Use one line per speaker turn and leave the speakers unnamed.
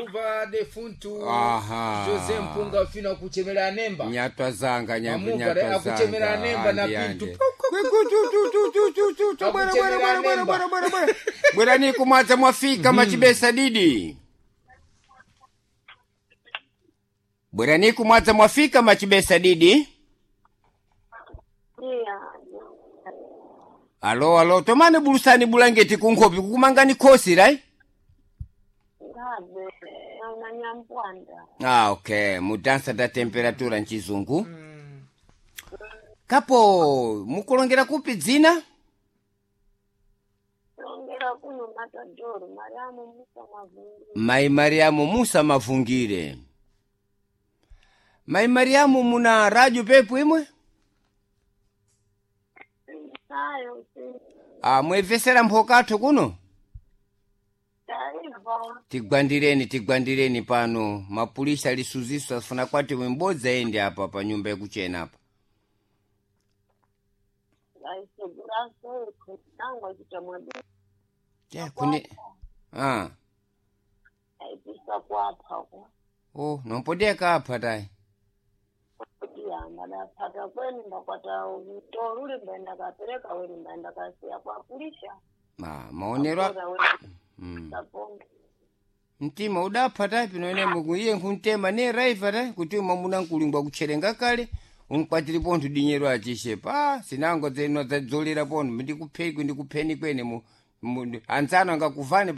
Muva defuntu
Aha.
Jose Mpunga fino akuchemera anemba.
Nyatwa zanga nyambu
Mamuva re
nyatwa zanga.
akuchemera anemba na
Andi,
pintu.
andi. Kwe, ku, tu, tu, tu, tu, tu, tu, bwera, bwera,
Akuchemera
bwera, bwera,
anemba.
bwera, bwera, bwera. Bwera ni kumwadza mwafika machibesa didi. Bwera ni kumwadza mwafika machibesa didi.
Iya.
Alo alo tomane bulusani bulangeti kunkhopi kukumangani khosi right?
Ngabe na nyampwanda.
Ah, okay. Mudansa da temperatura mchizungu. Kapo mukulongera kupi dzina?
Longera kuno Matadoro Mariamu Musa Mavungu.
Mai Mariamu Musa Mavungire. Mai Mariamu muna radio pepu imwe?
Nayo si
Ah, mwevesera mphokatho kuno?
taiva.
Tigwandireni tigwandireni pano. Mapulisa lisuziso afuna kwati wimbodza ende apa pa nyumba yakuchena apa.
Vaisegura seko nangwa chitamwadi
Ja, kune Ah.
aipisa kwapha kwa.
Oh, nompodeka apa tai.
Iya ndadapata kweni ndakwata mtoro uli mbaenda kapereka weni mbaenda kasiya kwapulisha.
Ma, maonero a-
Akora weni kaponga.
Mtima udapha tai pino ene muku iye nkuntema ne raiva tai kuti mwamuna nkulingwa kutcherenga kale unkwatiri pontho dinyero achishe pa sinango dzeno dzadzolera pontho ndikupheni ndikupheni kwene mu, mu anzano angakuvane.